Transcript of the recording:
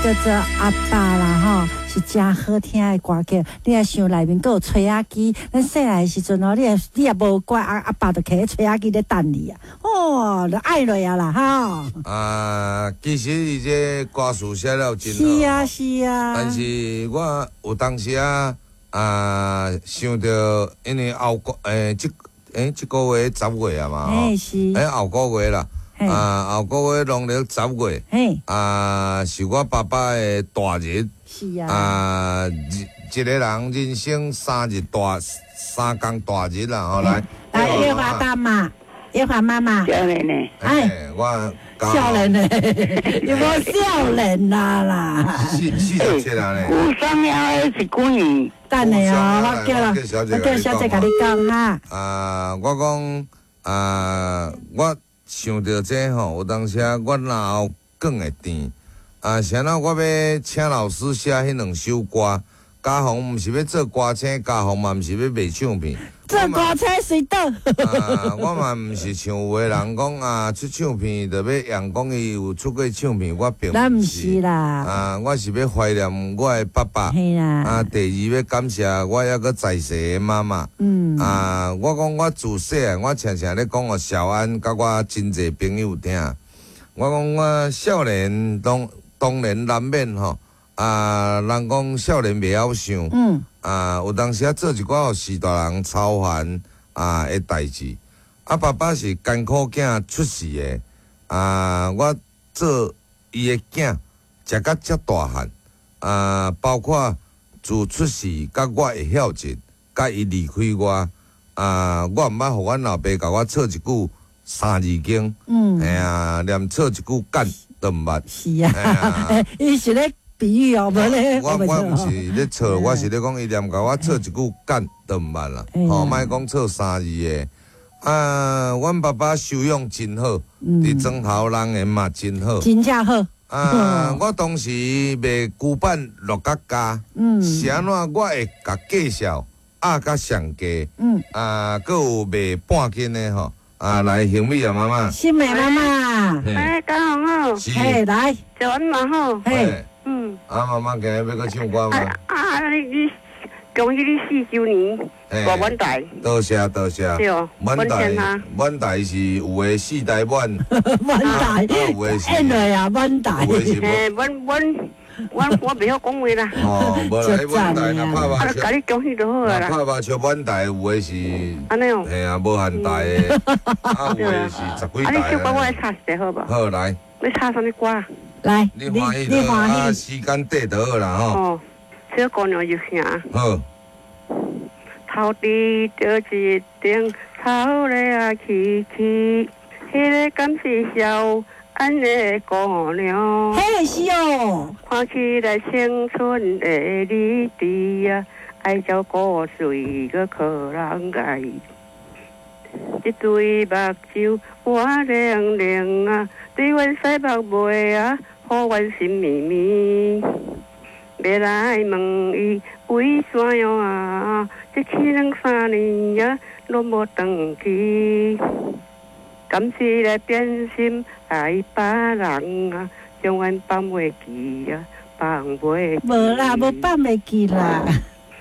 叫做阿爸啦吼，是誠好聽的歌曲。你若想內面閣有吹仔機，咱細漢的時陣哦，你若無乖，阿爸就提吹仔機咧等你啊，哦，就愛落啊啦吼。啊，其實伊這歌詞寫了真好。是啊，是啊。但是我有當時啊啊想著，因為後個這個月10月啊嘛，嘿是。後個月啦，啊後個月農曆十月，啊是我爸爸的大日。是啊。啊，一個人人生三日大三工大日啦，吼來。來，月華大媽，月華媽媽。少年呢？哎，我少年呢？有無少年啊啦？47啊咧。有啥物是幾年？等下哦，我叫小姐共你講哈。啊，我講啊，我想著這吼，有當時啊，我腦後囥會甜。啊，啥那我欲請老師寫彼兩首歌，家宏毋是欲做歌星，家宏嘛毋是欲賣唱片。做歌星隨倒。啊，我嘛毋是像有的人講啊，出唱片就欲揚講伊有出過唱片，我並咱毋是啦。啊，我是欲懷念我的爸爸。嘿啦。啊，第二欲感謝我猶閣在世的媽媽。啊，我講我自細漢，我常常咧講予小安佮我真濟朋友聽。我講我少年當然難免吼，啊，人講少年袂曉想，啊，有當時啊做一寡予序大人操煩啊的代誌。啊，爸爸是艱苦囝出世的，啊，我做伊的囝，食甲遮大漢，啊，包括自出世佮我會曉盡，佮伊離開我，啊，我毋捌予阮老爸共我臭一句三字經，嘿啊，連臭一句幹都毋捌。是啊，伊是咧比喻哦，無咧。我毋是咧臭，我是咧講伊連共我臭一句幹都毋捌啦。吼，莫講臭三字的。啊，阮爸爸修養真好，佇莊頭人緣嘛真好。真正好。啊，我當時賣龜板落甲加，是按怎我會共介紹壓甲上低，啊，閣有賣半斤的吼。啊，來幸美啊，媽媽。幸美媽媽。哎，家宏好。是。嘿，來。早安嘛好。嘿。啊，媽媽今日欲閣唱歌嗎？啊，你恭喜你4周年大滿台。多謝多謝。對哦。滿台滿台是有的四台滿。滿台。有的是。演落啊，滿台。有的是。嘿，滿滿。我袂曉講話啦。哦，無啦，彼滿台若拍麻將，共你恭喜就好啊啦。拍麻將滿台有的是，按呢哦。嘿啊，無限台的，啊有的是十幾台。啊，你唱歌我來插一下好無？好來。欲插啥物歌？來，你歡喜就啊，時間短就好啦吼。哦，小姑娘入城。好。頭拄著一頂草咧啊起起，彼个敢是小安的姑娘？嘿，是哦。看起來青春的你佇啊，愛照顧水閣可人愛。一對目睭活靈靈啊，對阮使目尾啊，予阮心暝暝。欲來問伊為怎樣啊？這去兩三年啊，攏無轉去。敢是來變心愛別人啊？將阮放袂記啊，放袂記。無啦，無放袂記啦。